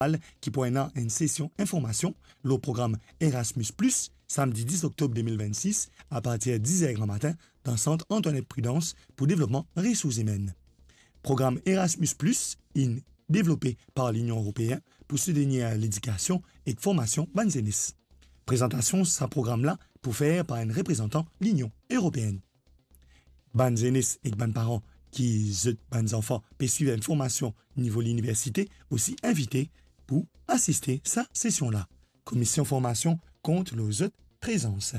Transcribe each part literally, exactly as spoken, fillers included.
Jeneral ki pou ena enn sesion informasion lor program Erasmus Plus, samdi dis oktob de mil vennsis, apartir diz er gramatin, dan sant Antoinette Prudence pou devlopman resours imenn. Program Erasmus Plus inn devlope par Linion Eropeen pou soutenir ledikasion ek formasion bann zenes. Prezantasion sa program la pou fer par enn reprezantan Linion Eropeen. Bann zenes ek bann paran ki zot bann zanfan pe swiv enn formasion nivo liniversite osi invite pou asiste sa sesion la. Komision Formasion kont lor zot prezans.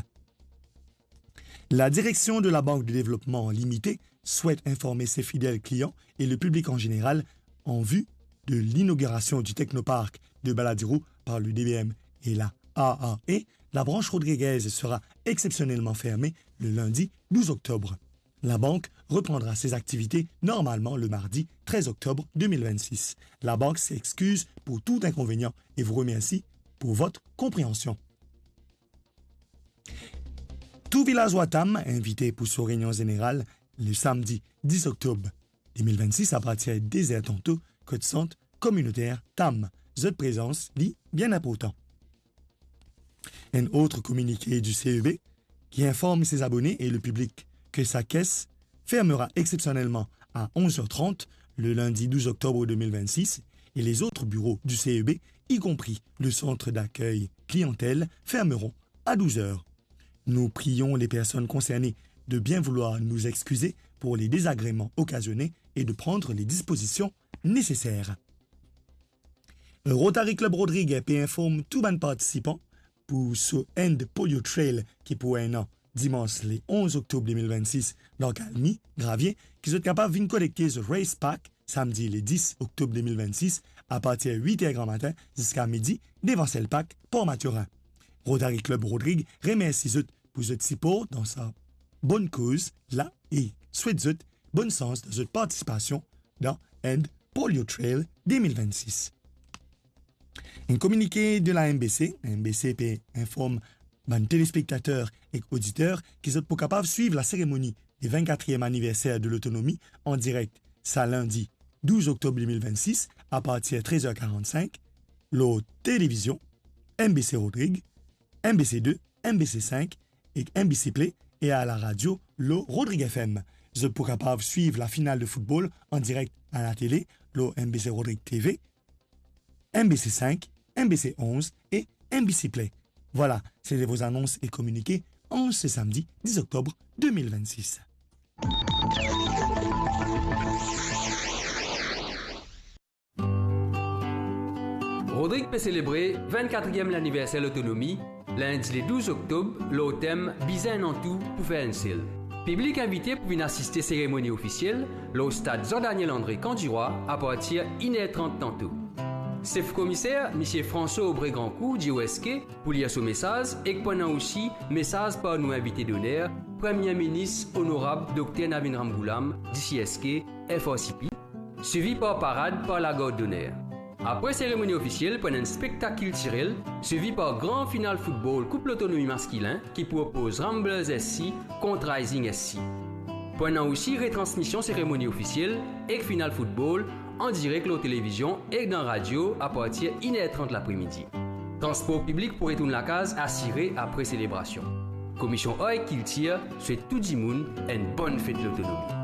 La Direction de la Banque de Développement Limitée souhaite informer ses fidèles clients et le public en général en vue de l'inauguration du technoparc de Baladiro par le D B M et la A A E. La branche rodriguez sera exceptionnellement fermée le lundi douze octobre. La banque reprendra ses activités normalement le mardi treize octobre deux mille vingt-six. La banque s'excuse pour tout inconvénient et vous remercie pour votre compréhension. Tou vilazwa Tam invite pou so reynion zeneral le samdi dis oktob de mil vennsis apartir de de zer tanto kot sant kominoter Tam. Zot prezans li bien inportan. Un autre communiqué du C E B qui informe ses abonnés et le public que sa caisse fermera exceptionnellement à onze heures trente le lundi douze octobre deux mille vingt-six et les autres bureaux du C E B, y compris le centre d'accueil clientèle, fermeront à douze heures. Nous prions les personnes concernées de bien vouloir nous excuser pour les désagréments occasionnés et de prendre les dispositions nécessaires. Rotary Club Rodrig pe inform tou bann partisipan pou so End Polio Trail ki pou ena dimans le onz oktob de mil vennsis dan Kalmi, Gravie, ki zot kapav vinn kolekte zot Race Pack samdi le dis oktob de mil vennsis apartir wit er gramatin ziska midi devan Selpak, Port Mathurin. Rotary Club Rodrig remersi zot pou zot sipor dan sa bonn koz la e swet zot bonn sans dan zot partisipasion dan End Polio Trail de mil vennsis. Enn kominike de la M B C, M B C pe inform bann telespektater ek oditer ki zot pou kapav swiv la seremoni de vinn-katriem aniverser de lotonomi an direk sa lindi douz oktob de mil vennsis apartir trez er karannsink lor televizion M B C Rodrig, M B C de, M B C sink ek M B C Play e a la radio lor Rodrig F M. Zot pou kapav swiv la final de foutbol an direk a la tele lor M B C Rodrig T V, M B C sink, M B C onz e M B C Play. Vwala, se te vo zanons e kominike an se samdi dis oktob de mil vennsis. Rodrig pe selebre vinn-katriem laniverser lotonomi, lindi le douz oktob, lor tem Bizin Enn An Tou pou fer enn sel. Piblik invite pou vinn asiste seremoni ofisiel lor stad Jean Daniel André Kan Dirwa apartir inn er trant tanto. Sef Komiser, Misie François Aubray Grancourt, dir ou eski pou lir so mesaz ek pou ena osi mesaz par nou invite doner, Premie Minis Onorab Dokter Navin Ramgoolam, D C S K, F R C P, swivi par parad par lagard doner. Apre seremoni ofisiel, pou ena enn spektak kiltirel, swivi par gran final foutbol Koup Lotonomi maskilin ki pou opoz Ramblers S C kont Rising S C. Pou ena osi retransmision seremoni ofisiel ek final foutbol an direk lor televizion ek dan radio apartir inn er trant lapremidi. Transpor piblik pou retourn lakaz asire apre selebrasion. Komision Ar ek Kiltir swet tou dimoun enn bonn fet lotonomi.